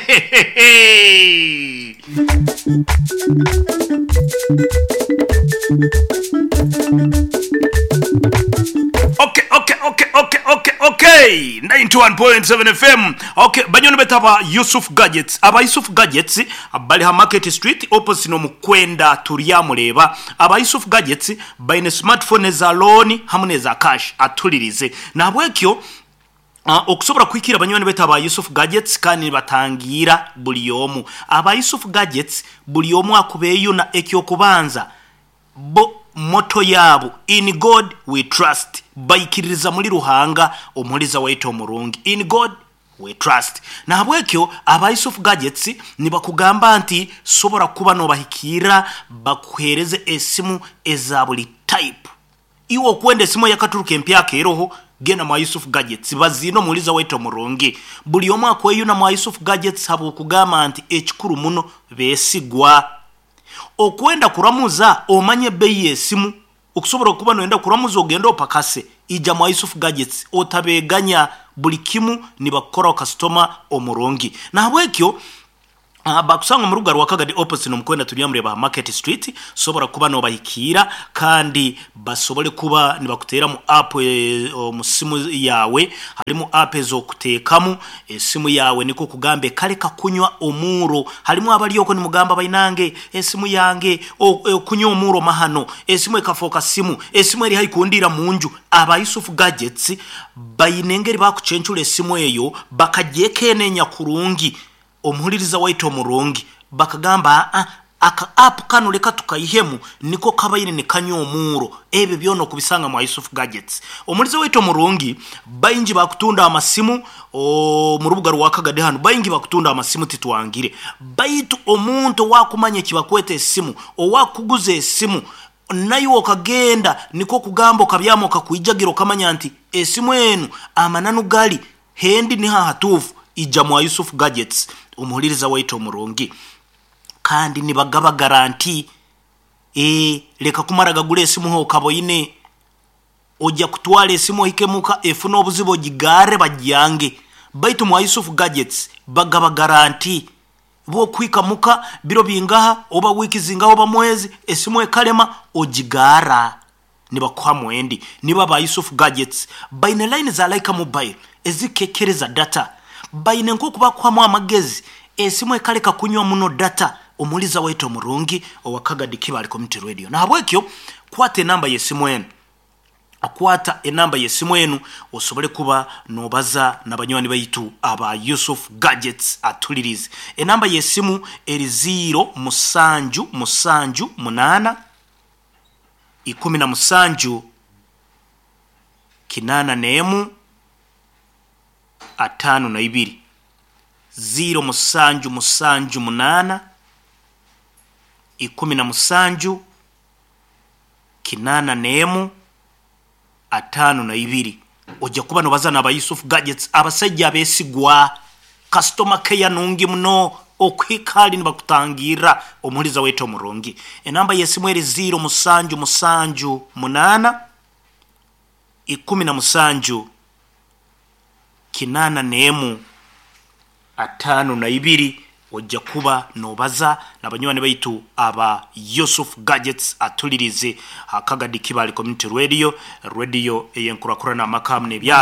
Okay, okay, okay, okay, okay, okay. 91.7 FM. Okay, banywani baitu aba Yusuf Gadgets. Aba Yusuf Gadgets bali ha Market Street opposite n'omukwenda Turyamureeba. Aba Yusuf Gadgets baine smartphone eza loan hamu n'eza cash atulirize. Nahabwekyo okusobora kuhikira banywani baitu aba Yusuf Gadgets kandi nibatangiira buli omu. Aba Yusuf Gadgets buli omu akubeeyuna eky'okubanza bo motto yaabo In God we trust, baikiririza muli Ruhanga omuhuliza waitu omurungi, In God we trust. Nahabwekyo aba Yusuf Gadgets nibakugamba nti sobora kuba nobahikiirra bakuheereze esimu eza buli type. Iwe okwenda esimu eyakaturuka empyaka eroho, genda mwa Yusuf Gadgets baziine omuhuliza waitu omurungi. Buli omu akweyuna mwa Yusuf Gadgets habw'okugamba nti ekikuru muno beesigwa. Okwenda kuramuza omanye ebbeeyi y'esimu, okusobora okuba noyenda kuramuza ogende opakase, ija mwa Yusuf Gadgets otabeeganya buli kimu nibakukoraho kasitoma omurungi. Nahabwekyo bakusanga omu rubuga rwa Kagadi opposite n'omukwenda Turyamureeba ha Market Street, sobora kuba nobahikiira kandi basobole kuba nibakuteeramu app omu simu yaawe. Harimu app ez'okuteekamu esimu yaawe nikwo kugamba ekaleka kunywa omuuro. Harimu abali okwo nimugamba bainange esimu yange okunywa omuuro mahano, esimu ekafooka simu, esimu eri haihi kundiira munju. Aba Yusuf Gadgets baine engeri bakucencura esimu eyo bakagyekeneenya kurungi omuhuliriza waitu omurungi bakagamba aa aka app kanu leka tukaihemu niko kabaire nikanywa omuuro. Ebyo byona okubisanga mwa Yusuf Gadgets. Omuhuliza waitu omurungi, baingi bakutunda amasimu omu rubuga rwa Kagadi hanu, baingi bakutunda amasimu titwangire. Baitu omuntu owaakumanya ekibakweta esimu, owaakukuguza esimu, naiwe okagenda nikwo kugamba okabyama okakwijagira okamanya nti esimu enu amananu gali hendi niho ahatuufu, ija mwa Yusuf Gadgets omuhuliriza waitu omurungi. Kandi nibagaba garanti, ee leka kumara gagura esimu h'okaboine, oja kutwara esimu ohike muka efune obuzibu ogigarre bagyange. Baitu mwa Yusuf Gadgets bagaba garanti, bw'okuhika muka biro bingaha oba wiiki zingaha oba mwezi esimu ekalema ogigarra nibakuhamu endi. Nibo aba Yusuf Gadgets. Baine line za Lyca Mobile ezikukekereza data. Baine nk'oku bakuhamu amagezi esimu ekaleka kunywa muno data omuhuliza waitu omurungi owa Kagadi Kibaale Community Radio. Nahabwekyo kwata enamba y'esimu enu, kwata enamba y'esimu enu osobole kuba nobaza na banywani baitu aba Yusuf Gadgets atulirize. Enamba y'esimu eri ziiro musanju musanju munaana, 17, 81, 52. Ziiro musanju musanju munaana, 17, 81, 52. Oja kuba nobaza n'aba Yusuf Gadgets abasaija abeesigwa, kasitoma keya nungi muno okuhika hali nibakutangirra omuhuliza waitu omurungi. Enamba y'esimu eri ziiro musanju musanju munaana, 17, 81, 52. Oja kuba nobaza na banywani baitu aba Yusuf Gadgets atulirize ha Kagadi Kibaale Community Radio, radio ey'enkurakurana amaka hamu n'ebyaro.